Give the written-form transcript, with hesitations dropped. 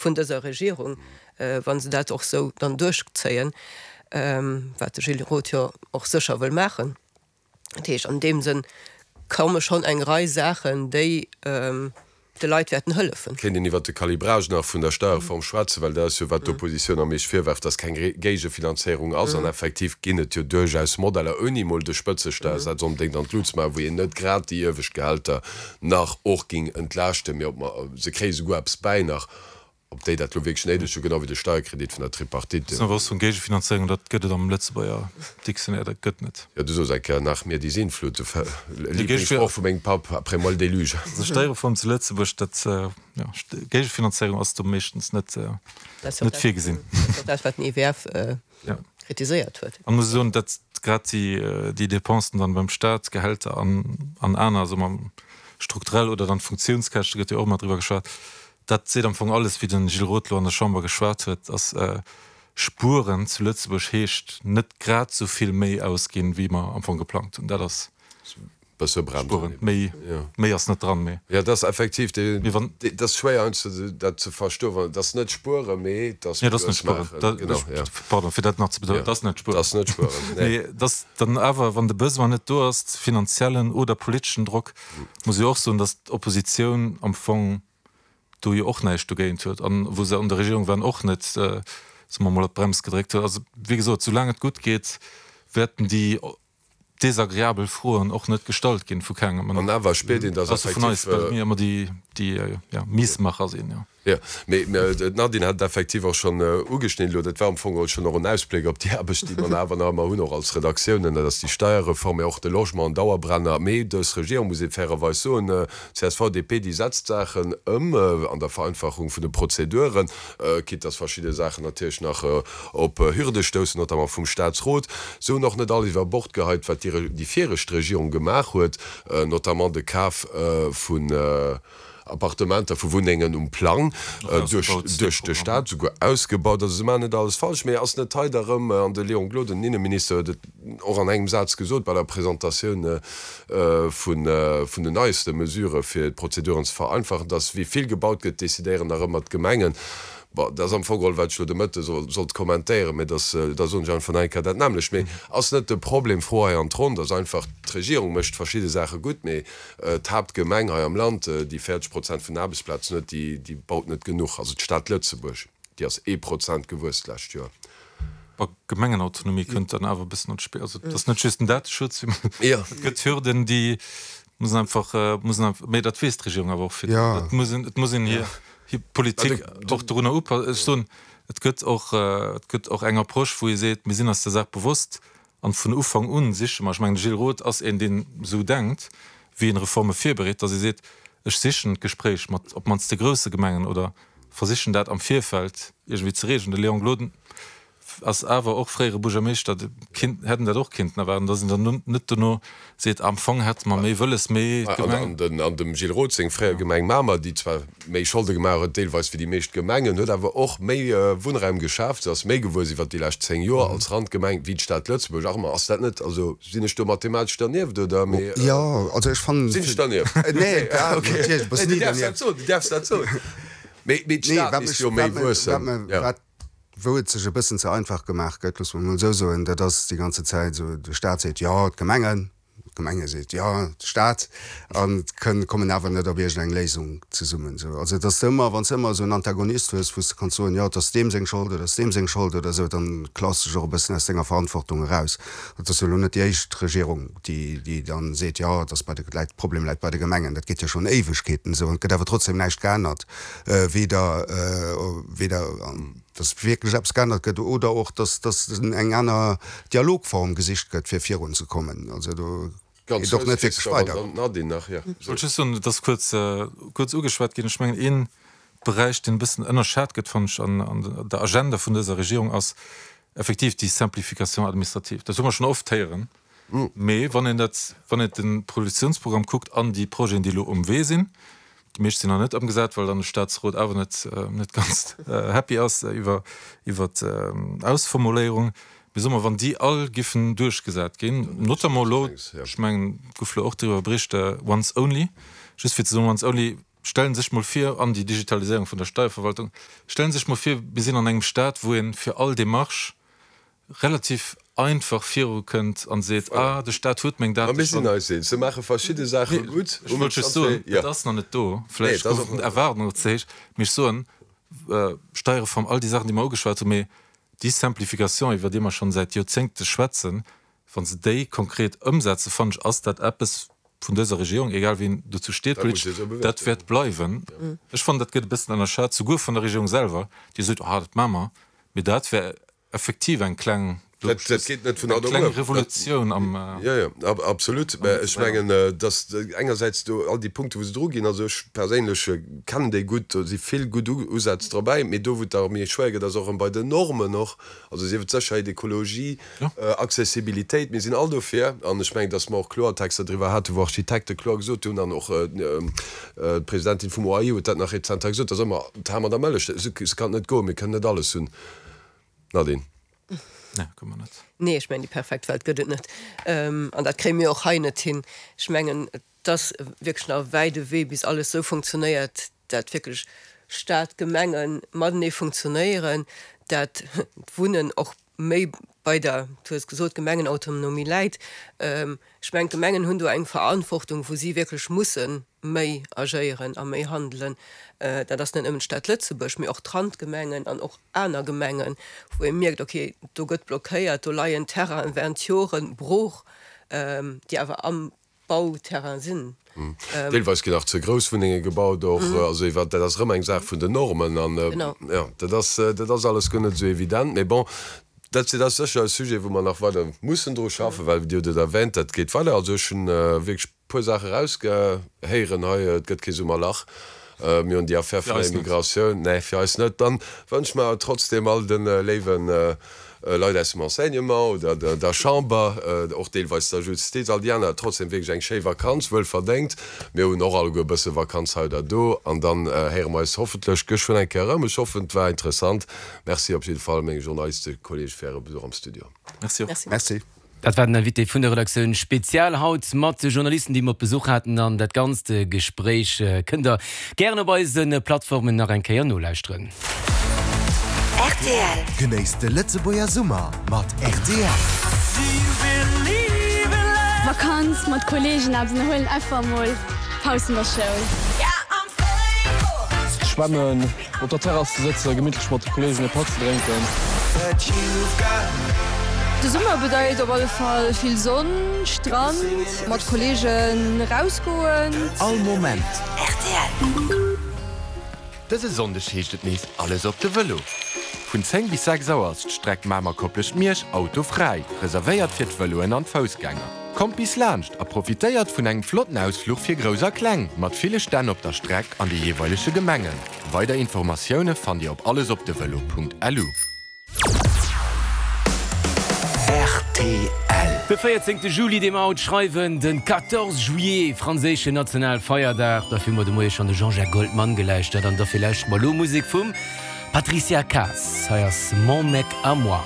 vun dëser Regierung, wa se dat och esou dann duerchzéien, wat de Gilles Roth jo och sécher wëll maachen. Dat heescht, an deem Sënn komme schonn eng Rei Saachen, déi de Leit wäerten hëllefen. Kéint een iwwert de Calibrage nach vun der Steierreform schwätzen, well dat ass jo, wat d'Oppositioun am meescht virwerft, dass keng Géigefinanzéierung ass. An effektiv ginn et jo duerchaus Modeller, ouni emol de Spëtzesteiersaz onbedéngt an d'Lut ze maachen, wou een net grad déi iewescht Gehälter nach och géing entlaaschten, mee ob mer, se kréie souguer eppes bäi nach, Ob déi dat lo wierklech néideg hunn, genau wéi de Steierkredit vun der Tripartite. Ass awer och vun Géigefinanzéierung, dat gëtt et am Lëtzebuerger Dictionnaire, dat gëtt net. Jo, du sos eng Kéier, Nach mir die Sintflut, de Lieblingssproch vu mengem Papp, après moi le déluge. Also Steierreform zu Lëtzebuerg, dat, jo, Géigefinanzéierung ass do meeschtens net, net virgesinn. Dat ass och dat, wat den IWF kritiséiert huet. An muss soen, datt grad déi, déi Dépensen dann beim Staat, Gehälter an, an aner, soe mer, strukturell oder dann d'Funktiounskäschte gëtt jo och ëmmer driwwer geschwat, Dat seet am Fong alles, wéi de Gilles Roth elo an der Chamber geschwat huet, dass spueren zu Lëtzebuerg heescht, net grad esou vill méi ausginn, wéi mer am Fong geplangt hunn. Dat ass spueren. Méi, méi ass net dran. Mee. Jo, dat ass effektiv, dat ass schwéier heiansdo dat ze verstoen, well et ass net spueren, mee et ass Nee, et ass net spueren. Genau, jo. Pardon, fir dat nach ze betounen, et ass net spueren. Et ass net spueren, nee. Mee et ass dann awer, wann de Besoin net do ass, finanziellen oder politeschen Drock, muss ech och soen, dass d'Oppositioun am Fong do jo och näischt dogéint huet an wou se an der Regierung waren och net, soe mer emol, op d'Brems gedréckt huet. Also, wéi gesot, soulaang et gutt geet, wäerten déi desagreabel Froen och net gestallt ginn vu kengem. An awer spiert een, dass effektiv. Ausser vun eis, well mir ëmmer déi, déi Miesmacher sinn, jo. Jo, mee d'Nadine hat et effektiv och schonn ugeschnidden elo. Dat war am Fong geholl schonn och en Ausbléck op déi Aarbecht, déi mer awer nach ëmmer hunn, och als Redaktiounen. Dat ass déi Steierreform, mee och de Logement, en Dauerbrenner. Mee dës Regierung, muss ee fairerweis soen, csv, DP, déi setzt d'Saachen ëm an der Vereinfachung vun de Prozeduren, quitte dass verschidde Saachen natierlech nach op Hürde stoussen, notamment vum Statsrot. Se hunn och net alles iwwer Bord geheit, wat déi viregt Regierung gemaach huet, notamment de Kaf vun Appartementer vu Wunnengen um Plang duerch de Staat, souguer ausgebaut. Also se maachen net alles falsch, mee ass net hei da rëm, an de Léon Gloden, den Inneminister, huet et och an engem Saz gesot bei der Presentatioun vun den neiste Mesurë fir d'Prozeduren ze vereinfachen, datt wéi vill gebaut gëtt, decidéieren nach ëmmer d'Gemengen. Bon, dat ass am Fong geholl, wat ech elo de Mëtte sollt kommentéieren, mee da soen ech einfach nach eng Kéier dat nämmlecht. Mee ass net de Problem, Fro hei an d'Ronn, datt einfach d'Regierung mécht verschidde Saache gutt, mee D'Haaptgemeng hei am Land, déi 40 Prozent vun den Aarbechtsplazen huet, déi baut net genuch. Also d'Stad Lëtzebuerg, déi ass ee Prozent gewuess d'lescht Joer. Bon, Gemengenautonomie kënnt dann awer e bëssen an d'Spill. Also et ass net just den Dateschutz, et gëtt Hürden, déi mussen einfach, mussen einfach, mee dat weess d'Regierung awer och virdrun. Et muss een, et muss een hir, hir Politik och dorunner upassen. Ech soen, et gëtt och, et gëtt och eng Approche, wou ee seet, mir sinn eis der Saach bewosst, An vun Ufank un siche mer, ech mengen de Gilles Roth ass een deen esou denkt, wéi en Reforme virbereet, datt ee seet, ech sichen d'Gespréich mat op d'mannst de grousse Gemengen oder versichen dat am Virfeld iergendwéi ze regeln. De Léon Gloden ass awer och fréiere Buergermeeschter, de kinnt, hätt en dat och kinnten erwaarden, datt een dann net dono seet, am Fong hätte mer méi wëlles, mee d'Gemeng. An dem Gilles Roth seng fréier Gemeng Mamer, déi zwar méi Scholde gemaach huet deelweis wéi déi meescht Gemengen, huet awer och méi Wunnraum geschaaft, se ass méi gewuess iwwert déi lescht 10 Joer als Randgemeng wéi d'Stad Lëtzebuerg. Ach ma ass dat net, also sinn ech do mathematesch dernieft oder? Mee Jo, also ech fannen. Sinn ech dernieft? Nee, natierlech bass ni dernieft. Du däerfs dat soen, du däerfs dat soen. Mee d'Stad misst jo méi wuessen. Wat wou et sech e bëssen ze einfach gemaach gëtt, loosse mer emol esou soen, dat ass déi ganze Zäit esou, de Staat seet, jo, d'Gemengen, d'Gemenge seet, jo, de Staat, an et kommen awer net op iergendeng Léisung zesummen. Esou, also et ass ëmmer, wann s de ëmmer esou en Antagonist hues, wou s de kanns soen, jo, et ass deem seng Schold oder et ass deem seng Schold oder esou, dann klaus de dech och e bëssen aus denger Verantwortung eraus. Et ass jo elo net déi éischt Regierung, déi, déi dann seet, jo, et ass bei de, läit, de Problem läit bei de Gemengen. Dat geet jo schonn Éiwegkeeten esou an et gëtt awer trotzdem näischt geännert, weder, weder dass wierklech eppes geännert gëtt oder och, dass, dass eng aner Dialogform gesicht gëtt, fir virunzekommen. Also do geet och net wierklech weider. Ech wollt just soen, et ass kuerz, kuerz ugeschwat ginn, ech mengen ee Beräich, deen e bëssen ënnerschat gëtt, fannen ech, an, an der Agenda vun dëser Regierung ass effektiv déi Simplification administrative. Dat hu mer schonn oft héieren, mee wann een dat, wann een de Koalitionsprogramm kuckt an déi Projeten, déi elo um Wee sinn, Déi meescht sinn nach net ëmgesat, well dann de Staatsrot awer net net ganz happy ass iwwer iwwer d'Ausformuléierung. Mee soe mer, wann déi all giffen duerchgesat ginn, notamment elo, ech mengen, et gouf elo och driwwer bericht, once only, just fir ze soen, once only. Stellen sech mol vir, an déi Digitaliséierung vun der Steierverwaltung, stellen sech mol vir, mir sinn an engem Staat, wou ee fir all Démarche relativ einfach virukënnt an seet, ah, de Staat huet meng Date schonn. Mä mir sinn eis eens, se maache verschidde Saache gutt. Ech wollt just soen, et ass nach net do, vläicht goufen d'Erwaardungen och ze héich, mee ech soen, Steierreform, all déi Saachen, déi mer ugeschwat hunn, mee déi Simplification, iwwer déi mer schonn säit Joerzéngte schwätzen, wa se déi konkret ëmsetzen, fannen ech, ass dat eppes vun dëser Regierung, egal wien dozou steet politesch, dat wäert bleiwen. Ech fannen, dat gëtt e bëssen ënnerschat, souguer vun der Regierung selwer, déi seet, ah, dat maache mer, mee dat wär effektiv eng kleng, Dat geet net vun haut op muer. Revolutioun am. Jo, jo, absolut. Mä ech mengen, datt engersäits do all déi Punkte wou se dru ginn, also ech perséinlech kennen déi gutt, do si vill gutt Usätz drabäi, mee do wou et da méi schwéier gëtt, ass och erëm bei den Normen och, also sief et Sécherheet, Ekologie, Accessibilitéit, mir sinn all dofir an ech mengen, datt mer och kloer Texter driwwer haten, wou Architekte kloer gesot hunn an och d'Presidentin vum OAI huet dat nach rezent hei gesot, datt ëmmer d'Ham an der Mëllech, esou kann et net goen, mir kënnen net alles hunn. Nadine. Nee, kënne mer net. Nee, ech mengen, déi perfekt Welt gëtt et net. An dat kréie mir och hei net hin. Ech mengen, et ass wierklech nach e wäide Wee, bis alles esou funktionéiert, dat wierklech Staat, Gemenge matenee funktionéieren, dat d'Wunnen och méi bei der, du hues gesot, Gemengenautonomie läit. Ech mengen, d'Gemengen hunn do eng Verantwortung, wou si wierklech musse méi agéieren a méi handelen. Dat ass net nëmmen d'Stad Lëtzebuerg, mee och d'Randgemengen an och aner Gemengen, wou ee mierkt, okay, do gëtt blockéiert, do leien Terrainen während Joren brooch, déi awer am Bauterrain sinn. Deelweis ginn nach ze grouss Wunnenge gebaut och. Also iwwer, dat ass erëm eng Saach vun den Normen an, jo, dat ass, dat ass alles guer net esou evident. Mee bon, dat ass sécher e Sujet, wou mer nach weider mussen dru schaffen, well Dir hutt et erwähnt, dat geet weider. Also ech hunn wierklech Puer Saache rausgehéieren hei, et gëtt kee Summerlach, mir hunn déi Affär vun der Immigratioun, nee fir eis net. Dann wënsche mer awer trotzdem all de léiwe Leit aus dem Enseignement oder der Chamber, och deelweis der Justiz, all déi aner, trotzdem wierklech eng schéi Vakanz, wuel verdéngt. Mir hunn och alleguer e bësse Vakanz hei oder do an dann héiere mer eis hoffentlech geschwënn eng Kéier erëm. Ech hoffen et war interessant. Merci op jidde Fall menge Journalistekollege fir äre Besuch am Studio. Merci och. Merci. Dat war den Invité vun der Redaktioun Spezial haut mat de Journalisten, déi mer op Besuch haten. An dat ganzt Gespréich kënnt der gären op eise Plattformen nach eng Kéier nolauschteren. Rtl. Genéisst de Lëtzebuerger Summer mat rtl. Vakanz mat Kollegen eppes ënnerhuelen, einfach emol Paus vun der Schoul. Schwämmen, Op der Terrass ze sëtzen, gemittlech mat de Kollegen e Patt ze drénken. De Summer bedeit op alle Fall vill Sonn, Strand, mat Kollegen rausgoen. All Moment. Rtl. Dëse Sonndeg heescht et nees Alles op de Vëlo. Vun 10 bis 6 Auer ass d'Streck Mamer-Koplescht-Miersch autofräi, reservéiert fir d'Vëloen an d'Foussgänger. Kommt bis laanscht a profitéiert vun engem flotten Ausfluch fir Grouss a Kleng, mat ville Stänn op der Streck an de jeeweilege Gemengen. Weider Informatioune fannt Dir op allesopdevelo.lu. Rtl. De 14 Juli, dee mer haut schreiwen, den 14 juillet, franséischen Nationalfeierdag. Dofir hu mer de Moie schonn de Jean-Jacques Goldman gelauschtert an dofir lauschtere mer elo Musek vum Patricia Kaas. Hei ass Mon mec à moi.